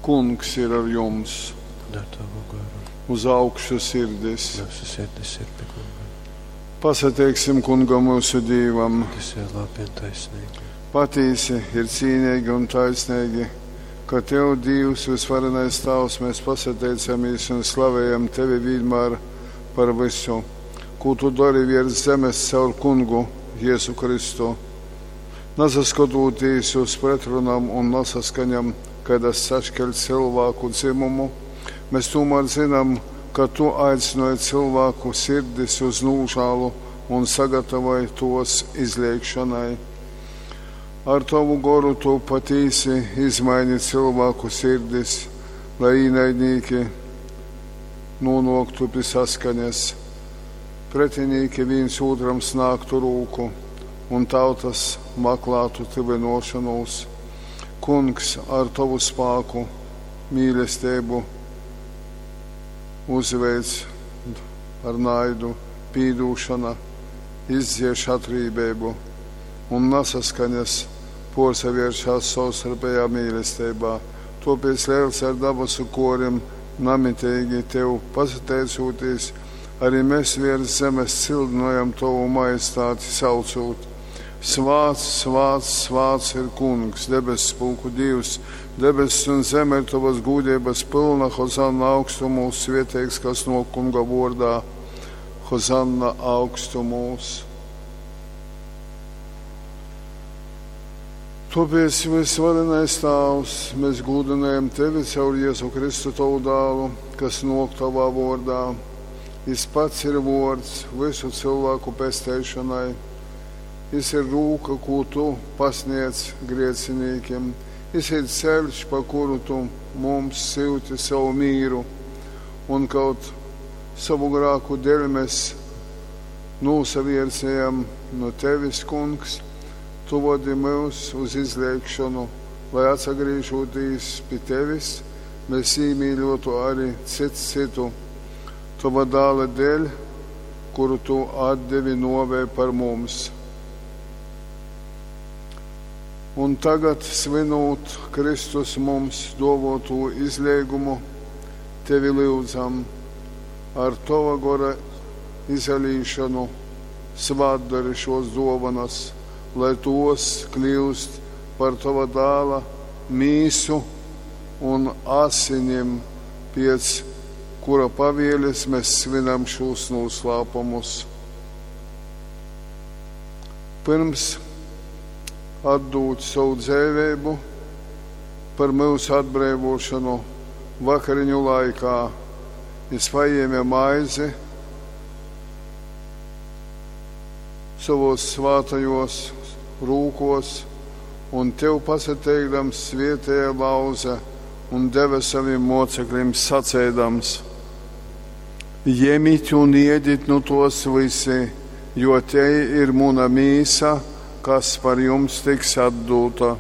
Kungs ir ar jums! Un ar tavu goru. Uz augšu sirdis! Myusu sirdis ir pi Kunga. Pasateiksim Kungam myusu Dīvam! Tas ir labi un taisnīgi. Patīsi ir cīnīgi un taisnīgi, ka Tev, Dīvs, vysvarenais Tāvs, mēs pasateicamies un slavējam Tevi vienmēr par visu, ko Tu dari virs zemes caur Kungu Jēzu Kristu. Nasaskatūtīs uz pretrunām un nasaskaņam, kaidas sašķeļ cilvēku dzimumu, mēs tomēr zinām, ka Tu aicināji cilvēku sirdis uz nožēlu un sagatavoji tos izliekšanai. Ar Tavu goru Tu patīsi izmaini cilvēku sirdis, lai īnaidnieki nonāktu pie saskaņas, pretinīki viens otram snāgtu rūku un tautas maklātu tuvinošanos. Kungs, ar Tavu spāku, mīlestību uzveic ar naidu, pīdūšana, izdzieš atrībību un nesaskaņas porsavēršās savstarpējā mīlestībā. Tāpēc liels ar dabasu korim namitīgi Tev pasateicoties, arī mēs virs zemes cildinojam Tavu majestāti saucot. Svāts, svāts, svāts ir Kungs, debesu pulku Dievs, debesis un zeme ir Tavas gūdības pilna, Hozanna augstumūs, svieteigs, kas no Kunga vordā, Hozanna augstumūs. Tāpēc, visvarenais Tāvs, mēs gūdinājam Tevi caur Jēzu Kristu Tavu dālu, kas nok Tavā vordā. Jis pats ir vords visu cilvēku pesteišanai. Jis ir rūka, ko Tu pasniedz griecinīkiem. Jis ir ceļš, pa kuru Tu mums syuti savu mīru. Un kaut savu grāku dēļ mēs nūsaviersējam no Tevis, Kungs, Tu vodi mūs uz izliekšanu, lai atsagrīžoties pie Tevis, mēs īmīļotu arī cits citu. Tava dāla dēļ, kuru Tu atdevi novē par mums. Un tagad, svinot Kristus mums dovoto izliegumu, Tevi lūdzam ar Tava gora izalīšanu svātdari šos dovanas, lai tos kļūst par Tava dāla mīsu un asinim, pēc kura pavieles mēs svinam šos noslēpumus. Pirms atdūt savu dzīvību par mūsu atbrīvošanu vakariņu laikā, jis paņēma maizi savos svātajos rūkos un Tev pasateikdams svietēja lauze un deva saviem mocekļiem sacēdams: Jemit un iedit nu tos visi, jo te ir muna mīsa, kas par jums tiks atdota.